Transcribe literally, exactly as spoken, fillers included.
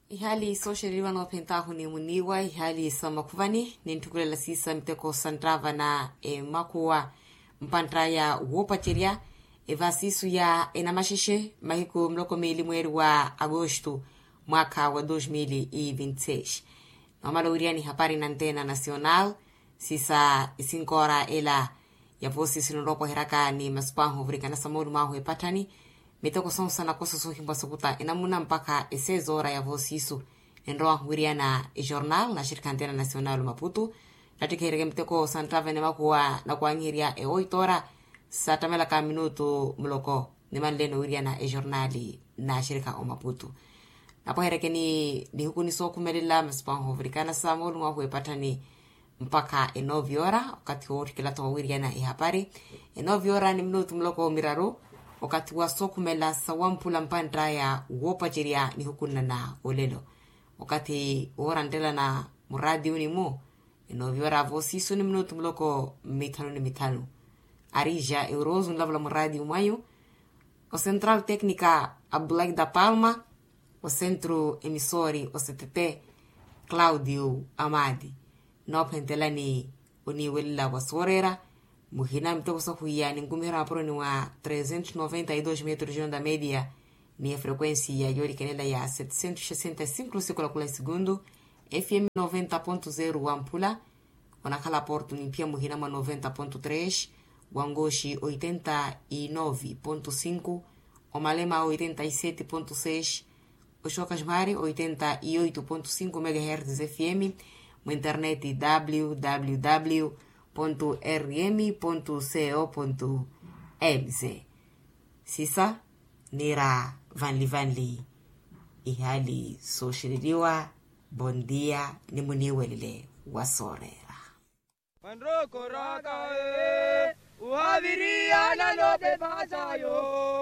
Ihaali sooxereriwa noophentaahu ni muniiwa ihaali sa makhuvani nintthukhulela siisa miteko sa nttava na emakuwa mpantt'aya woopacerya. Evaasiisu ya enamaxexe mahiku muloko miili mweeri wa agosto mwaakha wa dos mil e vinte seis. Noomala owiriyani hapari na antena nacional siisa isinkoora ela ya voosiisu ninroopweheryaka ni masupanhu ovurikana sa moolumo ahu epatthani. Miteko sonse anakosa soohimpwa sokuta enamuna mpakha esezoora ya voosiisu. Enrowahu wiriyana ejornal naxirikha antena nacional maputu nattikheheryeke miteko sa nttava enemakuwa nakwanyiherya e oito ora sattamelaka minutu muloko. Nimanleno wiriyana ejornali naxirikha omaputu napweheryeke ni nihiku ni sookhumelela masupanhu ovurikana sa moolumo ahu epatthani mpakha enovi ora okathi wootthikela-tho wawiriyana ehapari. Enovi ora ni minutu muloko miraru okathi wa sookhumela sawamphula mpantt'aya woopacerya nihukunna na olelo okathi wooranttela na muraatiyo ni-mu. Enovi ora voosiisu ni minutu muloko mithanu ni mithanu. Arija eurozu nlavula muraatiyo mwayu. Ocentral tecnica abdullah da palma. Ocentro emissori octt claudio amadi. Noophentelani oniiwelela wa sooreera muhina miteko sahwiya ninkumiherya mapuroni wa trezentos noventa e dos metros de onda media ni efrequencia yoolikanela ya setcentos sesenta e cinco lusikula kula esegundu. Fm noventa ponto zero wamphula onakhala porto nimphiya muhina mwa noventa ponto tres, wangoxi oitenta e nove ponto cinco, omalema oitenta e sete ponto seis, oxoka ximari oitenta e oito ponto cinco megahertz fm. Mu internet www rm co mz. Sisa niira vanli vanli ihaali sooxereriwa. Bondia ni muniiwelele wa sooreera. Vanrokoraka ohaviriyana notepasayo.